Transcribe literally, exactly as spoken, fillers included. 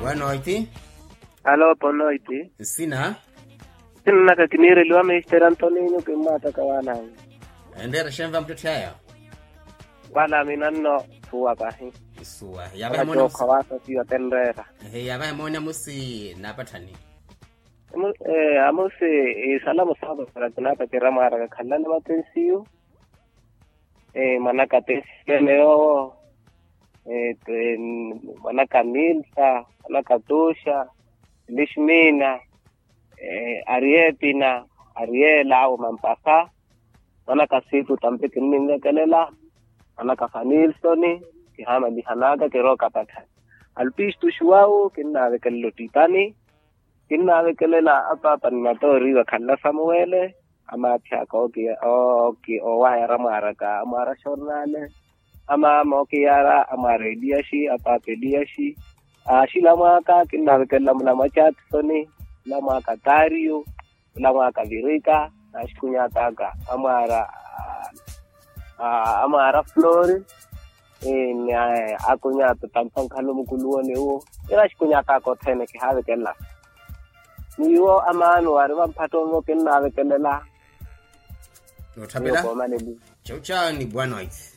Boa noite. Alô, boa noite. Nsina? Nsina naka kiniireliwa mister antoninho, kimmaattaka waananyu. Enreera xenva muttetthe aya? Wala minanno suwa pahi. Suwa. Yavahe moona musi. Ehe, yavahe moona musi. Naapatthani? Amusi isalamu saapatthana kinaapatira mwaaraka khalani matensiyu. Mwanaka tensiyu ene yoowo. Mwanaka milsa, mwanaka tuxa, lixmina, ariepina, ariela awo mampasa. Mwanaka situ tampi kinninvekelela. Mwanaka fanilsoni. Kihaamalihanaka kirooka patthani. Alpistu xuwawu kinnaavekelela ottipani. Kinnaavekelela apaapa ni matooriwa khanla samuwele. Amaathi aka oowayara amwaaraka amwaara xornale. Amaama ookiyara amwaara eliyaxi apaapa eliyaxi. Aaxilamwaaka kinnaavekelela mulamwa chatisoni, mulamwaaka tariyo, mulamwaaka virika, naaxikunyataka amwaara amwaara flori. Ni akunyata tampa nkhalu mukuluwoni uwo. Ira axikunyataka othene kihaavekelela. Ni iwo amaano wari vampattonvo kinnaavekelela. Noottapela. Chauchani boa noite.